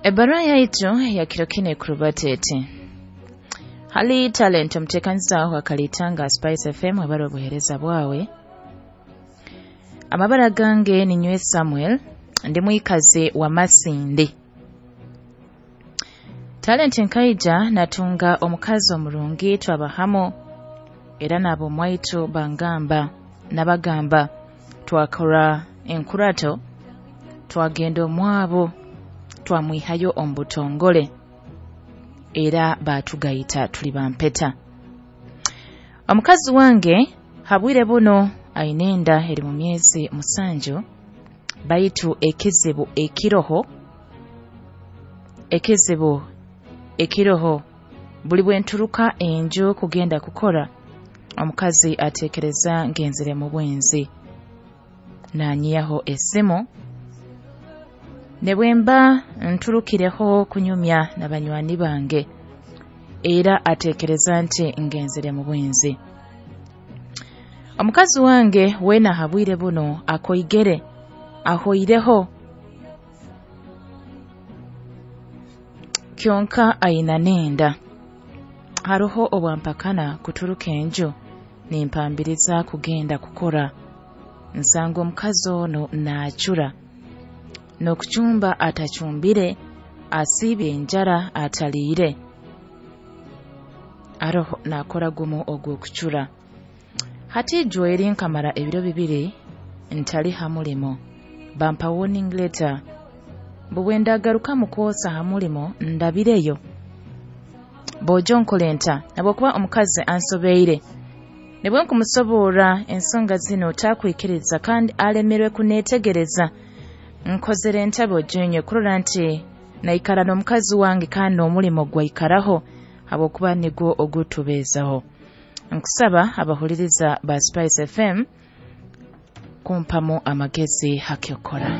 Ebbaruha yaitu ya kiro kinu ekurubata eti: Hali Talent, omuteekaniza wa Kalitanga Spice FM, webale obuheereza bwawe. Amabara gange ninywe Samuel, ndi mwikazi wa Masindi. Talent, nkaija natunga omukazi omurungi, twaba hamu era n'ab'omwaitu bangamba nabagamba, twakora enkurato, twagenda omwabo, twamwihayo omu butongole era baatugayita tuli bampeta. Omukazi wange habwire buno aine enda eri mu myezi 7, baitu ekizibu ekiroho buli bwenturuka enju kugenda kukora, omukazi ateekereza ngenzire mu bwenzi, nanyihaho esimu, ne bwemba nturukireho kunyumya na banywani bange, era ateekereza nti ngenzire mu bwenzi. Omukazi wange weena habwire buno akoigere, ahoireho, kyonka aina n'enda. Haroho obwampakana kuturuka enju, nimpambiriza kugenda kukora, nsanga omukazi ono naacura, n'okucumba atacumbire, asiibye enjara ataliire, aroho naakora gumu ogw'okucura. Hati ijweri nkamara ebiro 2 ntali ha mulimo, bampa warning letter, mbu bwe ndagaruka kwosa ha mulimo ndabireyo. Bojo nkole nta, habwokuba omukazi ansobeire, nibwe nkumusoborra ensonga zino takwikiriza kandi alemerwe kuneetegereza. Nkozere nta bojo kurora nti naikara n'omukazi wange kandi n'omulimo gwaikaraho, habwokuba nigwo ogutubeezaho. Nkusaba abahuliriza ba Spice FM kumpamu amagezi hakyokora.